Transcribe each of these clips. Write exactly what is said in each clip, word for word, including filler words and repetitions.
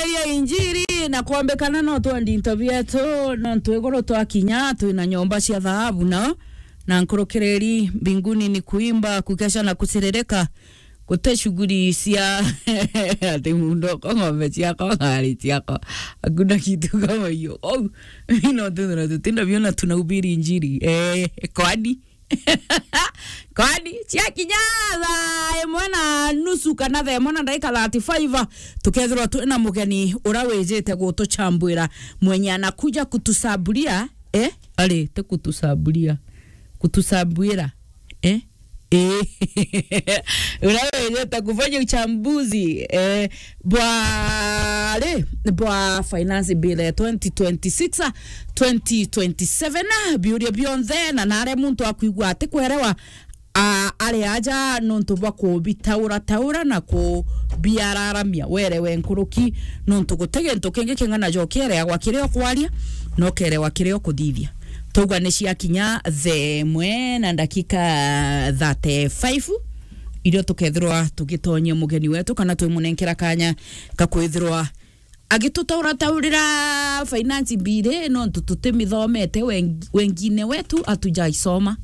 Tukihubiria injiri na kuombekana no twendi into bietu, nontu iguru twakinya twina nyomba cia thahabu nao, na nkurukiriri mbinguni ni kuimba, kukesha na kusiririka. Guti shughuli cia ati mundo ko ng'ombe ciakwa, ngari ciakwa, hakuna kitu kama hiyo. Au, ino tuthira tutinda biona tunahubiri injiri. Eh, kwani? Kwani ciakinya thaa imwe na nusu kana thaa imwe na ndagika thirty-five, tukethirwa twina mugeni uria wijite gutuchambwira, mwenye anakuja kutusaburia, eh? Ari, ti kutusaburia. Kutusabuira, eh? Eh. Uria wijite kufanya uchambuzi, eh, bwa ri, bwa finance bill ya twenty twenty-six, twenty twenty-seven, biuria bionthe, na nare muntu akwigua atikwerewa, a, ari aja nontu bwa kubitaura taura na kubiararamia, werewe nkuruki, nontu guti gintu kingi king'ana jo kiereagwa kiria ukwaria, no kerewa kiria ukuthithia. Twauga ni ciakinya thaa imwe na ndakika thirty-five, irio tukethirwa tugitonyia mugeni wetu, kana twimunenkera kanya ka kwithirwa agitutaurataurira finance bill, nontu tutimithomete, weng-, wengine wetu hatujaisoma.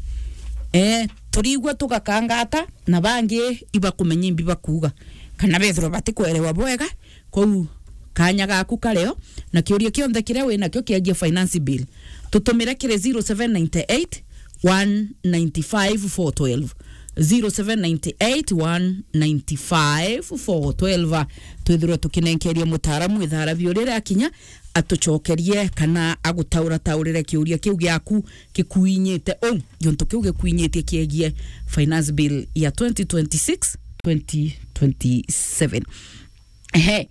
Eh, turigua tugakangata, na bangi ibakumenya imbi bakuuga, kana bethirwa batikwerewa bwega. Kwou kanya gaku kario, na kiuria kionthe kiria winakio kiegie finance bill, tutumire kiri zero seven nine eight, one nine five, four twelve. Zero seven nine eight, one nine five, four twelve. Twithirwe tukinenkeria mutaaramu ithaara biuria riakinya, atucokerie kana agutaurataurire kiuria kiu giaku gikuinyite uu, giuntu kiu gikuinyitie kiegie finance bill ya twenty twenty-six, twenty twenty-seven. Ehe,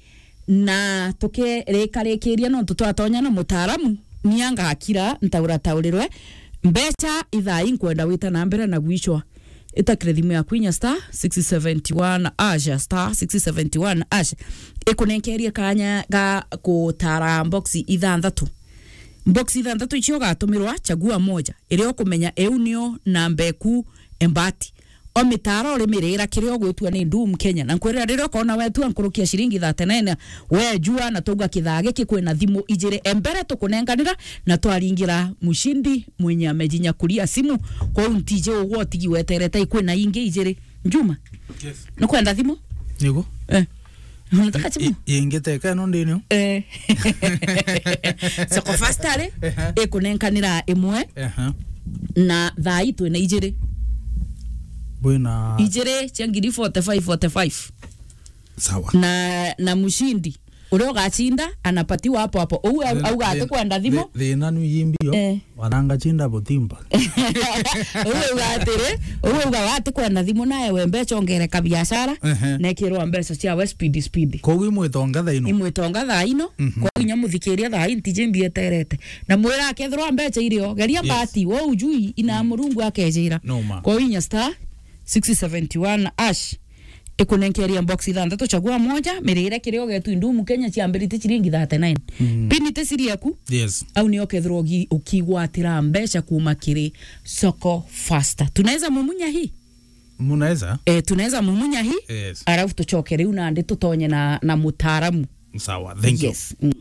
na tukirikarikiria nontu twatonya na mutaaramu, ni angakira ntaurataurire. Mbeca ithaa ii nkwenda wita na mbere na gwicwa. Itakire thimu yaku inya star six seventy one hash, star six seventy one hash. Ikunenkerie kanya ga gutara box ithanthatu. Box ithanthatu icio ugatumirwa, chagua moja. Iria ukumenya iu niyo namba eku embati. O mitaara urimirira kiria ugwitua ni Doom Kenya. Na nkwirira riria ukona wetua nkuruki ya ciringi thirty-nine, we jua na twauga kithaa giki kwina thimu ijiri e mbere tukunenganira na twaringira mushindi mwenye amejinyakuria simu. Kwou ntiji ugwe utigi weterete, kwina ingi ijiri. Juma? Yes. Nukwenda thimu? Nigu? Eh. Unataka simu? I-, ingiteka ino ndinio? Eh. Soko Fasta ri, ehe, ikunenkanira imwe, ehe, na thaa ii twina ijiri. Bwina ijiri cia ngiri forty-five, forty-five. Sawa. Na, na mushindi uria ugacinda anapatiwa hapo hapo. Uu au-, thina, auga ati thina, kwenda thimu. Thi-, thina ni yimbio. Eh. Wananga chinda butimba. Uu auga atiri, uu auga ati kwenda thimu nae we mbeca ongere ka biashara, ehe, nekirwa mbeca ciawe speed, speed. Koguo imwitonga thaa ino? Imwitonga thaa ino. Mhm. Koguo inya muthikiria thaa ii ntiji mbieterete. Na mwira akethirwa mbeca irio, geria, yes, mbati, we ujui, ina, mm, Murungu akejira. No ma. Koguo inya star six seventy one hash. Ikunenkeria box ithanthatu, chagua moja, mirire kiria ugetu Doom Kenya ciambirite ciringi thirty-nine. Mm. Pini ti siri yaku. Yes. Au nio ukethirwa ugi-, ukigwatira mbeca kuma kiri Soko Fasta. Tunaweza mumunya hii? Munaweza? Eh, tunaweza mumunya hii. Yes. Alafu tucoke riu nandi tutonye na, na mutaaramu. Sawa, thank you. Yes. Mm.